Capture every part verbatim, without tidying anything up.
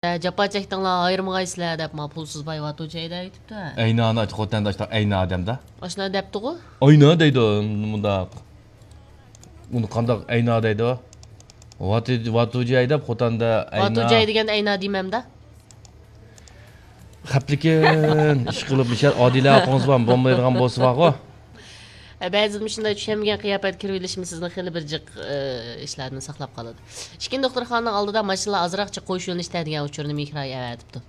جاپا چەكتىڭلار، ئايرىمىغايسىلەر دەپ، ما پۇلسىز باي ۋاتۇچەي دەۋېتىپتۇ. ئەينانى ئايتقۇ، خوتەندە ئاشۇنداق ئەينا ئادەمدە. ئاشۇنداق دەپتىغۇ؟ ئەينا دەيدۇ، مۇنداق. ئۇنى قانداق ئەينا دەيدۇ؟ ۋاتۇ-، ۋاتۇجەي دەپ خوتەندە ئەينا. ۋاتۇجەي دېگەن ئەينا دېمەمدە. خەپلىكىن، ئىشقىلىپ، مىشەل ئادىلە ئاپىڭىز بار، بولمايدىغان بولسا بارغۇ. بەزىدە مۇشۇنداق چۈشەنمىگەن قىياپەتكە كىرىۋېلىشىمىز سىزنى خېلى بىر جىق، ئى، ئىشلاردىن ساقلاپ قالىدۇ. ئىككىنچى دوختۇرخانىنىڭ ئالدىدا ماشىنىلار ئازراقچە قوش يۆنىلىشتە دېگەن ئۇچۇرنى مېھراي ئەۋەتىپتۇ.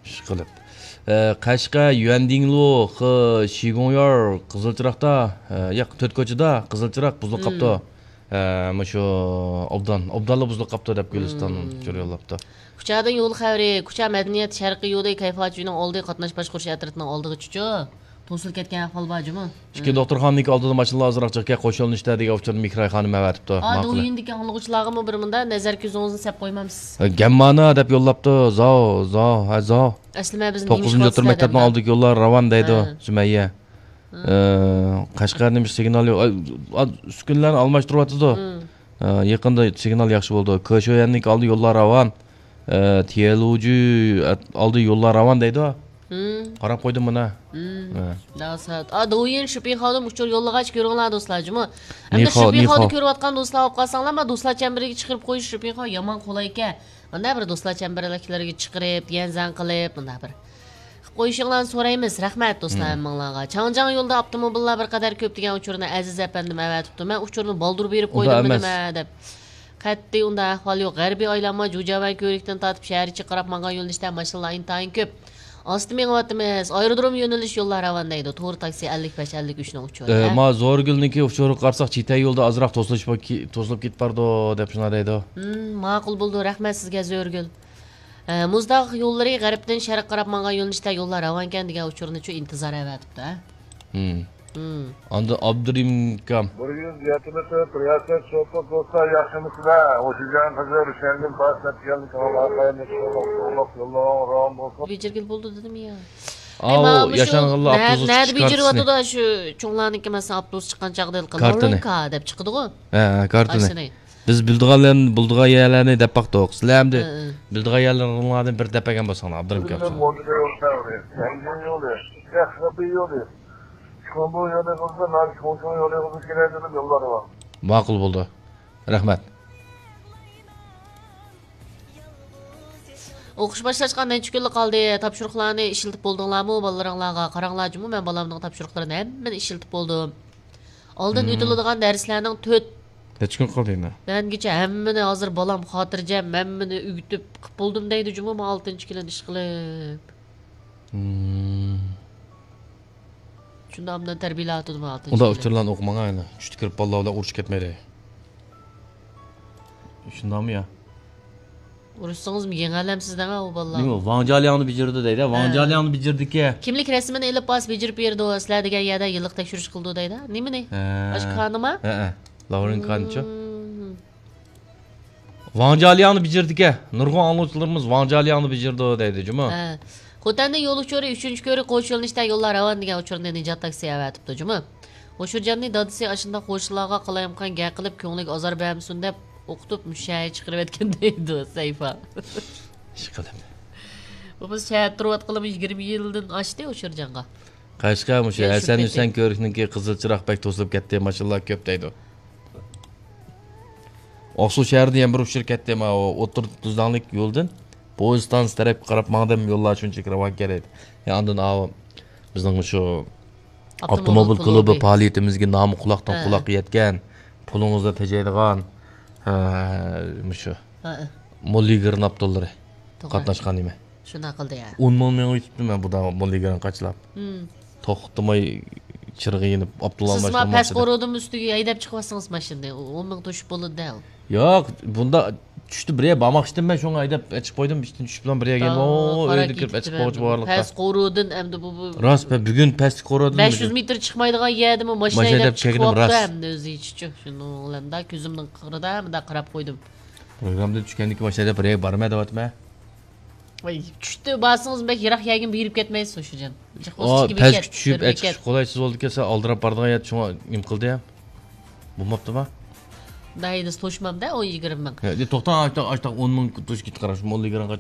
ئىشقىلىپ. ئى، قەشقەر يۈەندىڭلۇ خې شىگۇڭيار قىزىل چىراغدا، ئى، ياق، تۆت كوچىدا قىزىل چىراغ بۇزۇلۇپ قاپتۇ. ئى، مۇشۇ ئوبدان، ئوبدانلا بۇزۇلۇپ قاپتۇ دەپ گۈلىستان ئۇچۇر يوللاپتۇ. كۇچادىن يول خەۋىرى، كۇچا مەدەنىيەت شەرقىي يولى كەيپاچۈنىڭ ئالدى قاتناش باشقۇرۇش ئەترىتىنىڭ ئالدىغىچىچۇ. توسۇلۇپ كەتكەن ئەھۋال بار جۇمۇ. ئىككى دوختۇرخانىنىڭكى ئالدىدا ماشىنىلار ئازراق جىقكە قوشۇلۇشتا دېگەن ئۇچۇرنى مىكراي خانىم ئەۋەتىپتۇ. ئا، ماقۇل. دويىندىكى ئاڭلىغۇچىلارغىمۇ بىر مۇندا نەزەر كۆزىڭىزنى سەپ قويمامسىز. گەممانا دەپ يوللاپتۇ. زاۋ، زاۋ، ھە، زاۋ. ئەسلىمە بىزنى توققۇزىنچى ئوتتۇرا مەكتەپنىڭ ئالدىدىكى يوللار راۋان دەيدۇ، سۈمەييە. ئە، قەشقەرنىڭ بىر سىگنالى يوق. ئا، ئا، ئۈسكۈنىلەرنى ئالماشتۇرۇۋاتىدۇ. ئە، يېقىندا سىگنال ياخشى بولدى. كېشيۈەننىڭكى ئالدى يوللار راۋان. ئە، تيەنلۇجۈ ئالدى يوللار راۋان دەيدۇ. قاراپ قويدۇم مانا. ئە. داۋسات. ئا، دويىن شىپىخاۋدىن ئۇچۇر يوللىغاچ كۆرۈڭلار دوستلار جۇمۇ. ئەمدى نىخاۋ، شىپىخاۋدا نىخاۋ. كۆرۈۋاتقان دوستلار بولۇپ قالساڭلار، ما دوستلار چەمبىرىگە چىقىرىپ قويۇش شىپىخاۋ يامان قولاي ئىكەن. مانا بىر دوستلار چەمبىرلىكلىرىگە چىقىرىپ، يەنزەڭ قىلىپ، مۇنداق بىر قىلىپ قويۇشۇڭلارنى سورايمىز. رەھمەت دوستلار ھەممىڭلارغا. چاڭجياڭ يولىدا ئاپتوموبىللار بىر قەدەر كۆپ دېگەن ئۇچۇرنى ئەزىز ئەپەندىم ئەۋەتىپتۇ. مەن ئۇچۇرنى بالدۇر بېرىپ قويدۇممۇ نېمە دەپ. قەتئىي ئۇنداق ئەھۋال يوق. غەربىي ئايلانما جۇجياۋەن كۆۋرۈكتىن تارتىپ شەھەر ئىچىگە قاراپ ماڭغان يۆنىلىشتە ماشىنىلار ئىنتايىن كۆپ. ئاستا مېڭىۋاتىمىز. ئايرودروم يۆنىلىش يوللار راۋان دەيدۇ. تور تاكسى ئەللىك بەش، ئەللىك ئۈچنىڭ ئۇچۇرى. ئە، ما زورگۈلنىڭكى ئۇچۇرىغا قارىساق، چىتەي يولدا ئازراق توسۇلۇش بار كى-، توسۇلۇپ كېتىپ بارىدۇ، دەپ شۇنداق دەيدۇ. ھىم، ماقۇل بولدى. رەھمەت سىزگە، زۆرگۈل. ئە، مۇزداغ يوللىرى غەربتىن شەرققە قاراپ ماڭغان يۆنىلىشتە يوللار راۋانكەن دېگەن ئۇچۇرنىچۇ ئىنتىزار ئەۋەتىپتۇ، ھە؟ ھىم. ھىم. ئاندىن ئابدۇرېھىم ئاكام. بىر يۈز يەتمىش تۆت رىياسەت شوپۇر دوستلار، ياخشىمۇسىلەر؟ ھوشىجان قىزى رۇشەنگۈل باش نەتىجەلىك ئاڭلار قايمىتىشقا يوللار راۋان بولسۇن. بېجىرگىلى بولدى دېدىم يا. ئاۋۇ، ئەي، مانا مۇشۇ ياشانغانلار نە-، ئاپتوبۇس نەدە چىقىش كارتىسىنى. بېجىرىۋاتىدۇ شۇ چوڭلارنىڭكى، مەسىلەن، ئاپتوبۇس چىققان چاغدا ھېلىقى كارتىنى. لارىنكا دەپ چىقىدىغۇ. ھە، ھە، كارتىنى. ئاشۇنى. بىز بىلىدىغانلارنى، بىلىدىغان يەرلەرنى دەپ باقتۇق. سىلەر ئەمدى ھە، ھە. بىلىدىغان يەرلىرىڭلاردىن بىر دەپ بەرگەن بولساڭلار، ئابدۇرېھىم ئاكا. ماقۇل بولدى. رەھمەت. ئوقۇش باشلاشقا نەچچە كۈنلا قالدى. تاپشۇرۇقلارنى ئىشلىتىپ بولدۇڭلارمۇ؟ بالىلىرىڭلارغا قاراڭلار جۇمۇ، مەن بالامنىڭ تاپشۇرۇقلىرىنى ھەممىنى ئىشلىتىپ بولدۇم. ئالدىن مم. ئۆتۈلىدىغان دەرسلەرنىڭ تۆت نەچچە كۈن قالدى يەنە؟ مەنگىچە ھەممىنى ھازىر بالام خاتىرجەم، ھەممىنى ئۆگىتىپ قىپ بولدۇم دەيدۇ جۇمۇ، ما ئالتىنچى كىلىن ئىشقىلىپ. مم. شۇنداق ئاندىن تەربىيەلەۋاتىدۇ ما ئالتىنچى ئۇنداق كىلىن. ئۇچۇرلارنى ئوقۇماڭ ئەنە. چۈشتە كىرىپ بالىلار بىلەن ئۇرۇشۇپ كەتمەيلى. شۇنداقمۇ يا؟ ئۇرۇشسىڭىزمۇ يېڭەلەمسىز دەڭە ئۇ بالىلار. نېمە، ۋاڭ جيالياڭنى بېجىرىدۇ دەيدۇ. ۋاڭ ھە. جيالياڭنى بېجىردىكى. كىملىك رەسىمىنى ئېلىپ بارسا بېجىرىپ بېرىدۇ، سىلەر دېگەن يەردە يىللىق تەكشۈرۈش قىلىدۇ دەيدۇ. نېمىنى؟ ھە. ئاشۇ كانىما؟ ھە، ھە. لاۋرېن كانچۇ. مم. ۋاڭ جيالياڭنى بېجىردىكى. نۇرغۇن ئاڭلىغۇچىلىرىمىز ۋاڭ جيالياڭنى بېجىردى دەيدۇ جۇمۇ. ھە. خوتەندە يول ئۇچۇرى ئۈچىنچى كۆرۈك قوش يۆنىلىشتە يوللار راۋان دېگەن ئۇچۇرنى نىجات تاكسى ئەۋەتىپتۇ جۇمۇ. ھوشۇرجاننى دادىسى ئاشۇنداق قوشنىلارغا قالايمىقان گەپ قىلىپ، كۆڭلىگە ئازار بەرمىسۇن دەپ ئوقۇتۇپ، مۇشۇ شەھەرگە چىقىرىۋەتكەن دەيدۇ سەيفا. ئىشقىلىپ. بۇ بىز شەھەردە تۇرۇۋاتقىلىمۇ يىگىرمە يىلدىن ئاشتى ھوشۇرجانغا. قەشقەر مۇشۇ ياشىپ ھەسەن كەتتى. ھۈسەن كۆۋرۈكنىڭكى قىزىل چىراغ بەك توسۇلۇپ كەتتى، ماشىنىلار كۆپ دەيدۇ. ئاقسۇ شەھىرىدە يەنە بىر ئۇچۇر كەتتى، ماۋۇ ئوتتۇرا تۈزلەڭلىك يولدىن پويىز ئىستانسىسى تەرەپكە قاراپ ماڭدىم، يوللار شۇنچىلىك راۋانكەن دەيدۇ. يا ئاندىن ئاۋۇ بىزنىڭ مۇشۇ ئاپتوموبىل ئاپتوموبىل كۇلۇبى كۇلۇبى. پائالىيىتىمىزگە نامى قۇلاقتىن ھە. قۇلاققا يەتكەن، پۇلىڭىزنى تېجەيدىغان، ھە، مۇشۇ ھە. موللىگىرنى ئاپتونلىرى توغرا. قاتناشقان نېمە؟ شۇنداق قىلدى يا. ئون مىڭ مېڭىۋېتىپتىمەن بۇدا موللىگىرنى قاچىلاپ. مم. توختىماي چىرىغى يېنىپ، ئاپتونلار سىز ما ماشىنا پەس قورۇدىمۇ ئۈستىگە ھەيدەپ چىقىۋاتسىڭىز ماشىنىنى، ئون مىڭ توشۇپ بولىدۇ دەل. ياق، بۇندا چۈشتە بىر يەر بارماقچىدىم مەن، شۇڭا ھەيدەپ ئېچىپ قويدۇم، ئىشتىن چۈشۈپلا بىر يەرگە يېنىپ، ئاھ، ئوي، ئۆيدە كىرىپ ئېچىپ قويغۇچە بارلىقتا. پەس قورۇدىن ئەمدى بۇ، بۇ راست، مەن بۈگۈن پەستە قورۇدۇم بەش يۈز مېتىر چىقمايدىغان يەردىمۇ ماشىنا ماشىنا ھەيدەپ ھەيدەپ كەلگىنىم چىقىۋاپتۇ راست. ئەمدى ئۆزى ئىچىچۇ. شۇنىڭ بىلەن مۇنداق كۆزۈمنىڭ قىرىدا مۇنداق قاراپ قويدۇم. پروگراممىدىن چۈشكەندىن كېيىن ماشىنا ھەيدەپ بىر يەرگە بارمايدىغان. ۋاي، چۈشتە بارسىڭىز بەك يىراق يەرگىمۇ بېرىپ كەتمەيسىز شۇ جان. ئا، پەسكە چۈشۈپ، ئەچىقىش قولايسىز بولدىكەن، سەن ئالدىراپ بارىدىغان يەردە شۇڭا نېمە قىلدى ھەم؟ بولماپتۇما؟ دايىنى توشمامدا ئون يىگىرمە مىڭ. توختاڭ، ئاشتاق ئاشتاق ئون مىڭ توشۇپ كېتىپ قاراش، موللا يىگىرمە